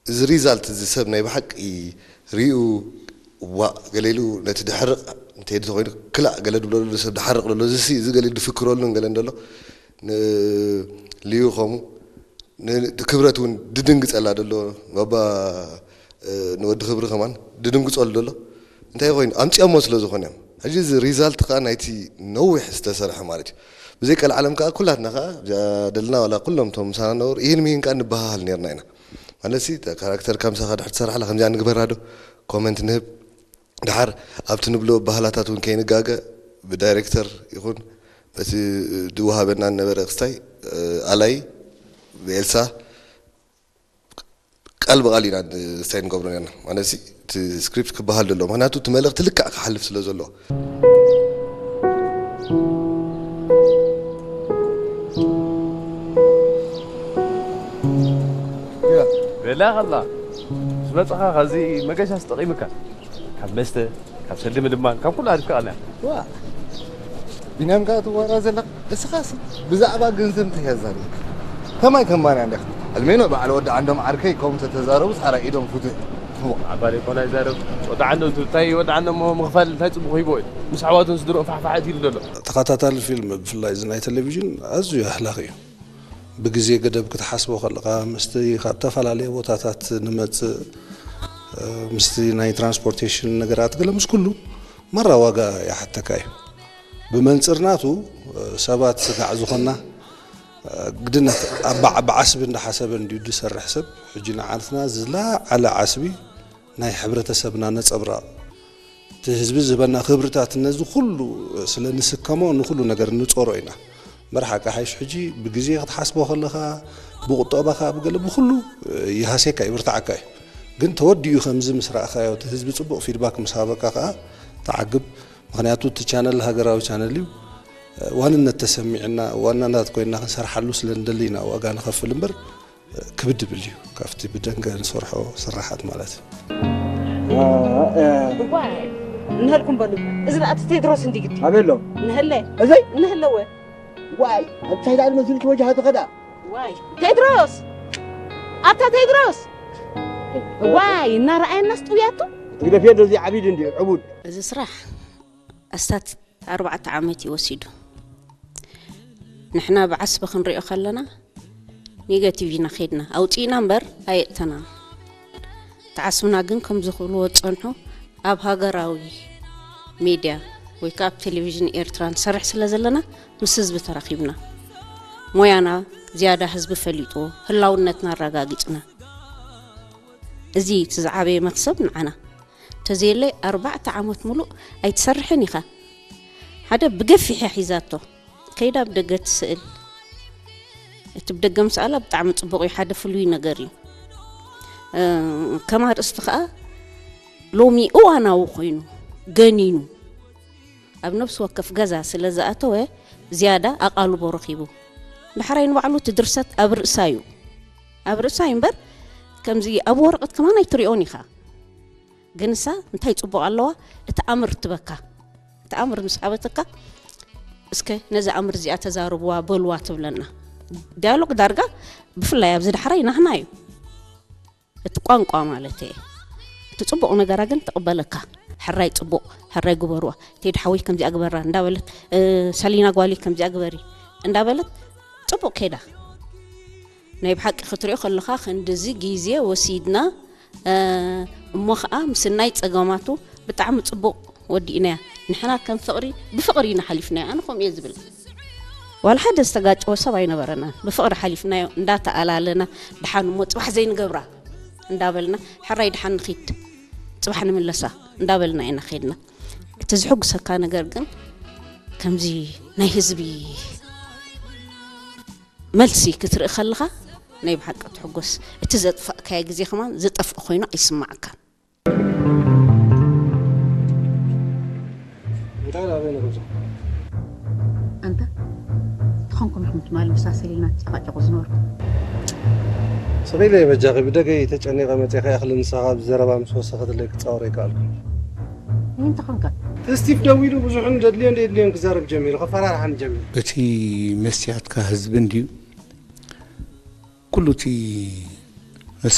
እዚ ሪዛልት እዚ ሰብ ናይ ብሓቂ ሪኡ ዋእ ገለ ኢሉ ነቲ ድሕርቕ እንተይድ ተኮይኑ ክላእ ገለ ድብሎ ዘሎ ሰብ ድሓርቕ ዘሎ እዚ ሲ እዚ ገለ ኢሉ ድፍክረሉን ገለን ዘሎ ን- ልዩ ከምኡ ን- ክብረት እውን ድድንግጸላ ዘሎ ባባ እ፣ ንወዲ ክብሪ ከማን ድድንግጸሉ ዘሎ እንታይ ኮይኑ ኣምጺኦሞ ስለ ዝኾነ እዮም። ሕጂ እዚ ሪዛልት ከዓ ናይቲ ነዊሕ ዝተሰርሐ ማለት እዩ። ብዘይ ቀልዓለም ከዓ ኩላትና ከዓ እዛ ደልና ዋላ ኩሎም እቶም ምሳና ነበሩ ይህን ምሂን ከዓ ንበሃሃል ነርና ኢና። ማለት ሲ ካራክተር ከምሳኻ ድሕር ትሰርሓላ ከምዚኣ ንግበራ ዶ ኮመንት ንህብ ድሓር ኣብቲ ንብሎ ባህላታት እውን ከይንጋገ ብዳይሬክተር ይኹን በቲ ድወሃበና ነበረ ክስታይ ኣላይ ብኤልሳ ቃል ብቃል ኢና ክስታይ ንገብሮ ነርና ማለት ሲ እቲ ስክሪፕት ክበሃል ደሎ ምክንያቱ እቲ መልእክቲ ልክዕ ክሓልፍ ስለ ዘለዎ በላ ከላ ምስ መፅኻ ካብዚ መገሻ ስጠቂምካ ካብ መስተ ካብ ሰልዲ ምልማን ካብ ኩሉ ኣሪፍካ ቀልያ ዋ ቢንያም ከኣ ትዋራ ዘለኻ እስኻስ ብዛዕባ ገንዘብ እንታይ እያ ዛሪብካ ከማይ ከማን እያ እንዲኻ ኣልሜኖ በዓል ወዲ ዓንዶም ዓርከይ ከምኡ ተተዛረቡስ ሓራይ ኢዶም ፍቱሕ ዓባሪ ኮና ይዛረብ ወዲ ዓንዶም እንታይ ወዲ ዓንዶም ምኽፋል እንታይ ፅቡቕ ሂቦ እዩ ምስ ኣሕዋቱን ስድርኡን ፋሕፋሕ ኣእትይሉ ዘሎ ተኸታታሊ ፊልም ብፍላይ እዚ ናይ ቴሌቪዥን ኣዝዩ ኣህላኺ እዩ ብግዜ ገደብ ክትሓስቦ ከለኻ ምስቲ ካብ ተፈላለየ ቦታታት ንመጽእ ምስቲ ናይ ትራንስፖርቴሽን ነገራት ገለ ምስ ኩሉ ማራ ዋጋ ይሓተካ እዩ። ብመንጽር ናቱ ሰባት ስጋዕ ዝኾና ግድነት ኣባዕ ብዓስቢ እንዳሓሰበ እንድዩ ዝሰርሕ ሰብ ሕጂ ንዓንትና ዝለዓለ ዓስቢ ናይ ሕብረተሰብና ነጸብራቕ እቲ ህዝቢ ዝህበና ክብርታት ነዚ ኩሉ ስለ ንስከሞ ንኩሉ ነገር ንጾሮ ኢና። እምበር ሓቂ ሓይሽ ሕጂ ብግዜ ክትሓስቦ ከለኻ ብቁጠባኻ ብገለ ብኩሉ ይሃስየካ ይብርትዓካ እዩ። ግን ተወዲኡ ከምዚ ምስ ረኣኻዮ እቲ ህዝቢ ጽቡቕ ፊድባክ ምስ ሃበካ ከኣ ትዓግብ። ምኽንያቱ እቲ ቻነል ሃገራዊ ቻነል እዩ። ዋንነት ተሰሚዕና ዋናታት ኮይንና ክንሰርሓሉ ስለ ንደሊ ኢና ዋጋ ንኸፍል እምበር ክብድ ይብል እዩ ካብቲ ብደንገ ንሰርሖ ስራሓት ማለት እዩ። እዋይ እንሀልኩም በሉ እዚ ደኣ እቲ ቴድሮስ እንዲ ግዲ ኣበሎ እንሀለ እዘይ እንሀለወ ዋይ እንታይ ደኣ መሲልኪ ወጃሃ ትኸዳ ዋይ ቴድሮስ ኣታ ቴድሮስ ዋይ እናረኣየናስ ጥውያቱ ትግደፍዮ ዶ እዚ ዓቢድ እንዲ ዕቡድ እዚ ስራሕ ኣስታት ኣርባዕተ ዓመት እዩ ወሲዱ። ንሕና ብዓስቢ ክንሪኦ ከለና ኔጋቲቭ ኢና ኸይድና፣ ኣውጺእና እምበር ኣየእተናን። እቲ ዓስብና ግን ከምዚ ክብልዎ ዝጸንሑ ኣብ ሃገራዊ ሜድያ ወይ ከኣ ኣብ ቴሌቪዥን ኤርትራ ንሰርሕ ስለ ዘለና ምስ ህዝቢ ተራኺብና ሞያና ዝያዳ ህዝቢ ፈሊጥዎ ህላውነትና ኣረጋጊጽና። እዚ እቲ ዝዓበየ መኽሰብ ንዓና። ተዘየለይ ኣርባዕተ ዓመት ሙሉእ ኣይትሰርሕን ኢኻ ሓደ ብገፊሕ እያ ሒዛቶ ከይዳ ብደገ ትስእል እቲ ብደገ ምስኣላ ብጣዕሚ ፅቡቅ እዩ ሓደ ፍሉይ ነገር እዩ ከም ኣርእስቲ ከዓ ሎሚ እዋናዊ ኮይኑ ገኒኑ ኣብ ነብሲ ወከፍ ገዛ ስለ ዝኣተወ ዝያዳ ኣቓልቦ ረኺቡ ዳሕራይ ንባዕሉ እቲ ድርሰት ኣብ ርእሳ እዩ ኣብ ርእሳ እዩ እምበር ከምዚ ኣብ ወረቐት ከማን ኣይትሪኦን ኢኻ ግን እሳ እንታይ ጽቡቕ ኣለዋ እቲ ኣምር ትበካ እቲ ኣምር ምስ ሃበተካ እስከ ነዚ ኣምር እዚኣ ተዛርብዋ በልዋ ትብለና ዳያሎግ ዳርጋ ብፍላይ ኣብዚ ዳሕራይ ናህና እዩ እቲ ቋንቋ ማለት እየ እቲ ጽቡቕ ነገራ ግን ትቕበለካ ሕራይ ጽቡቕ ሕራይ ግበርዋ ቴዲ ሓወይ ከምዚኣ ግበራ እንዳበለት ሰሊና ጓሊ ከምዚኣ ግበሪ እንዳበለት ጽቡቕ ከይዳ ናይ ብሓቂ ክትሪኦ ከለኻ ክንድዚ ግዜ ወሲድና እሞ ኸኣ ምስናይ ጸገማቱ ብጣዕሚ ጽቡቕ ወዲእናያ ንሕና ከም ፍቕሪ ብፍቕሪ ኢና ሓሊፍናዮ ኣነ ከምኡ እየ ዝብል ዋላ ሓደ ዝተጋጨወ ሰብ ኣይነበረናን ብፍቕሪ ሓሊፍናዮ እንዳተኣላለና ድሓን እሞ ጽባሕ ዘይንገብራ እንዳበልና ሕራይ ድሓን ንኺድ ጽባሕ ንምለሳ እንዳበልና ኢና ኸድና እቲ ዝሕጉሰካ ነገር ግን ከምዚ ናይ ህዝቢ መልሲ ክትርኢ ከለኻ ናይ ብሓቂ ትሕጎስ እቲ ዘጥፋእካዮ ግዜ ከማን ዝጠፍእ ኮይኑ ኣይስማዓካን። እንታይ ናበይ ንጉዞ? ኣንታ ትኾንኩም ኢኹም ትማሊ ምሳ ሰሊልና ትጨቃጨቁ ዝነበርኩም። ስቕ ኢለ እየ በጃኺ ብደገይ ተጨኒቐ መፂኤ ከይኣኽሊ ንስኻ ብዘረባ ምስ ወሰኸትለይ ክፃወር ኣይከኣልኩን። ምንታይ ኾንካ? ስቲቭ ደዊሉ ብዙሕን ዘድልዮን ዘየድልዮን ክዛረብ ጀሚሩ፣ ከፈራርሓኒ ጀሚሩ። እቲ መስትያትካ ህዝቢ እንድዩ። ኩሉ እቲ